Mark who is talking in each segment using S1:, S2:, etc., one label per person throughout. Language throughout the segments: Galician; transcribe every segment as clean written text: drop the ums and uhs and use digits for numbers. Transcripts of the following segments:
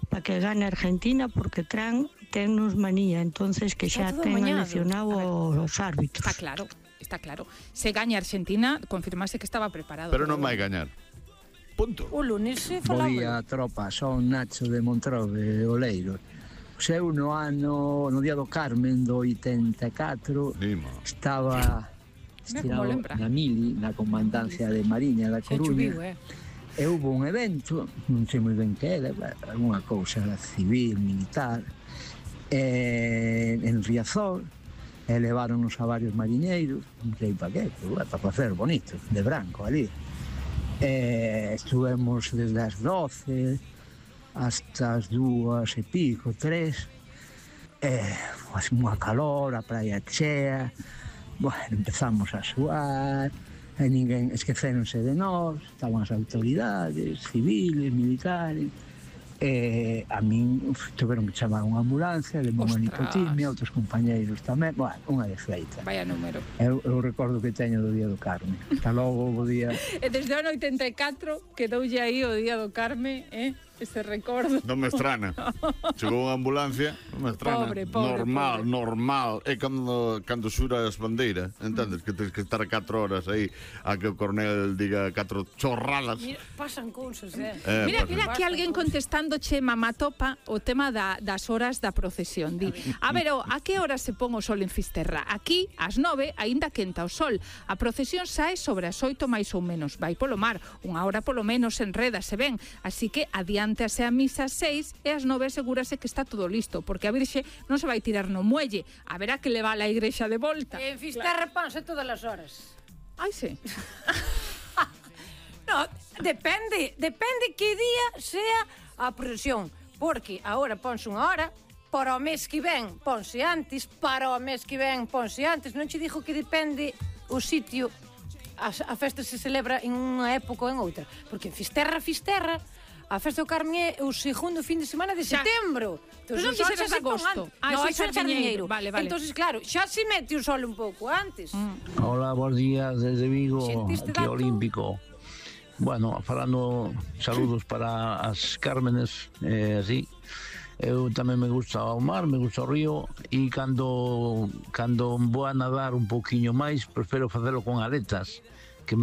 S1: para que gane Argentina porque tennos manía, entonces que xa ten eleccionado os árbitros.
S2: Está claro. Se gaña Argentina, confirmase que estaba preparado.
S3: Pero non vai gañar. Punto.
S4: O lunes se
S5: Bo
S4: falaba.
S5: día, tropa, son Nacho de Montró de Oleiro. Eu no día do Carmen do 84 estaba estirado na mili, na comandancia de Mariña da Coruña. E houve un evento, non sei moi ben que era, alguna cousa civil, militar, en Riazor, e leváronos a varios mariñeiros, non sei para qué, pero para facer bonito, de branco ali. Estuvemos desde as 12 hasta as 2 e pico, 3, pues unha calor, a praia chea, bueno, empezamos a suar, e ninguén esquecéronse de nós, estaban as autoridades civiles, militares, a min tiveron que chamar unha ambulancia, de unha nipotimia, outros compañeiros tamén, bueno, unha desfeita.
S2: Vaya número.
S5: Eu recordo que teño do Día do Carme. Hasta logo, bo día.
S2: E desde o ano 84 quedoulle aí o Día do Carme, ese recordo.
S3: Non me estrana. Chegou unha ambulancia, non me estrana.
S2: Pobre,
S3: normal. É cando xura as bandeiras, entendes? Que tens que estar 4 horas aí a que o coronel diga 4 chorradas.
S4: Mira, pasan cousas,
S2: Mira que alguén contestándoche mamatopa o tema das horas da procesión. Di, a ver, a que hora se pon o sol en Fisterra? Aquí, ás 9, aínda quenta o sol. A procesión sae sobre as 8 máis ou menos. Vai polo mar, unha hora polo menos enreda, se ven. Así que adiántase a misa ás 6 e ás 9 asegúrase que está todo listo, porque a Virxe non se vai tirar no muelle. Haberá que levar a igrexa de volta.
S4: En Fisterra ponse todas as horas.
S2: Ai, sí.
S4: No, depende que día sea a procesión, porque agora ponse unha hora, para o mes que ven ponse antes, non che digo que depende o sitio, a festa se celebra en unha época ou en outra, porque en Fisterra, a festa do Carmen é o segundo fin de semana de setembro.
S2: Pero non quixeras agosto.
S4: Non, é Sardiñeiro.
S2: Vale.
S4: Entonces, claro, xa se mete o sol un pouco antes.
S6: Hola, bons días desde Vigo, aquí Olímpico. Bueno, falando saludos para as Cármenes, así. Eu tamén me gusta o mar, me gusta o río, e cando vou a nadar un pouquiño máis, prefiro facelo con aletas, que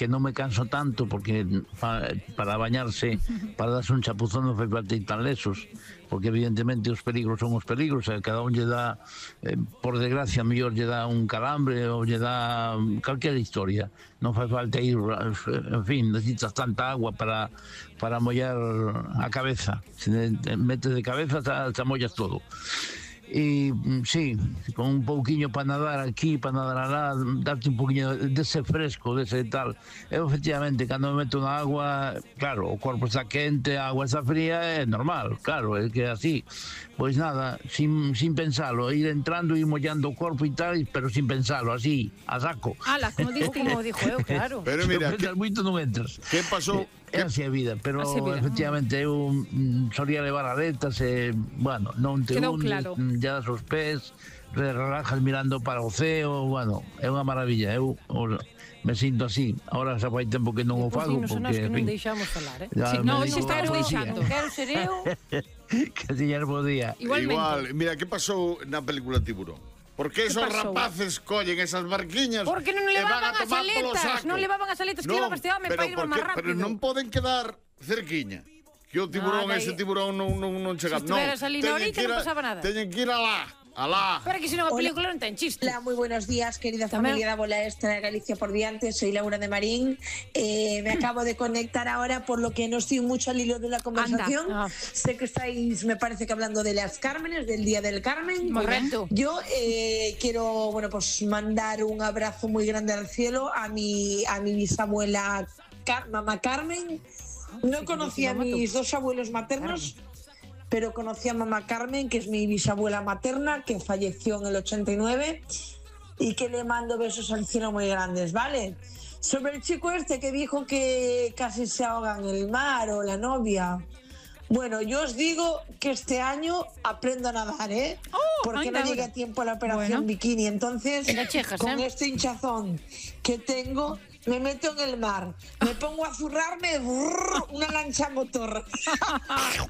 S6: non me canso tanto, porque para bañarse, para darse un chapuzón non fai falta ir tan lesos, porque evidentemente os peligros son os peligros, e cada un lle dá, por desgracia, mellor lle dá un calambre ou lle dá calquera historia. Non fai falta ir, en fin, necesitas tanta agua para mollar a cabeza. Se metes de cabeza, te mollas todo. E sí, con un pouquiño para nadar aquí, para nadar alá, darte un pouquiño dese fresco, dese tal. Eu, efectivamente, cando me meto na agua, claro, o corpo está quente, a agua está fría, é normal, claro, é que así. Pois nada, sin pensalo, ir entrando e mollando o corpo e tal, pero sin pensalo, así, a saco.
S2: Ala, como dixo eu, claro.
S3: Pero mira,
S6: se moito non entras.
S3: Que pasou?
S6: É así a vida, pero efectivamente eu solía levar aletas e, bueno, non te hundes, ya das os pés, relajas mirando para o ceo, bueno, é unha maravilla, eu me sinto así. Ahora xa fai tempo que non o fago, porque,
S4: en fin... non deixamos falar,
S2: non, se estamos deixando.
S4: Quero ser eu.
S6: Que tiñas bo día.
S2: Igual,
S3: mira, que pasou na película Tiburón? Por que esos rapaces collen esas barquiñas?
S4: Porque non levaban as aletas, que levaban este home para ir máis rápido.
S3: Pero non poden quedar cerquiña, que o tiburón, ese tiburón non chega.
S4: Se estiveras ali na orilla non pasaba nada.
S3: Teñen que ir alá.
S4: Pero que se non a película non ten chiste.
S7: Hola, moi buenos días, querida familia da Bola Extra de Galicia por diante. Soy Laura de Marín. Me acabo de conectar ahora, por lo que no estoy mucho al hilo de la conversación. Sé que estáis, me parece que hablando de las Cármenes, del Día del Carmen.
S4: Correcto.
S7: Yo quiero, bueno, pues mandar un abrazo muy grande al cielo a mi bisabuela mamá Carmen. No conocía a mis dos abuelos maternos, pero conocí a mamá Carmen, que es mi bisabuela materna, que falleció en el 89, y que le mando besos al cielo muy grandes, ¿vale? Sobre el chico este que dijo que casi se ahoga en el mar, o la novia, bueno, yo os digo que este año aprendo a nadar, porque no llegué a tiempo a la operación bikini, entonces con este hinchazón que tengo, me meto en el mar, me pongo a zurrarme, una lancha a motor.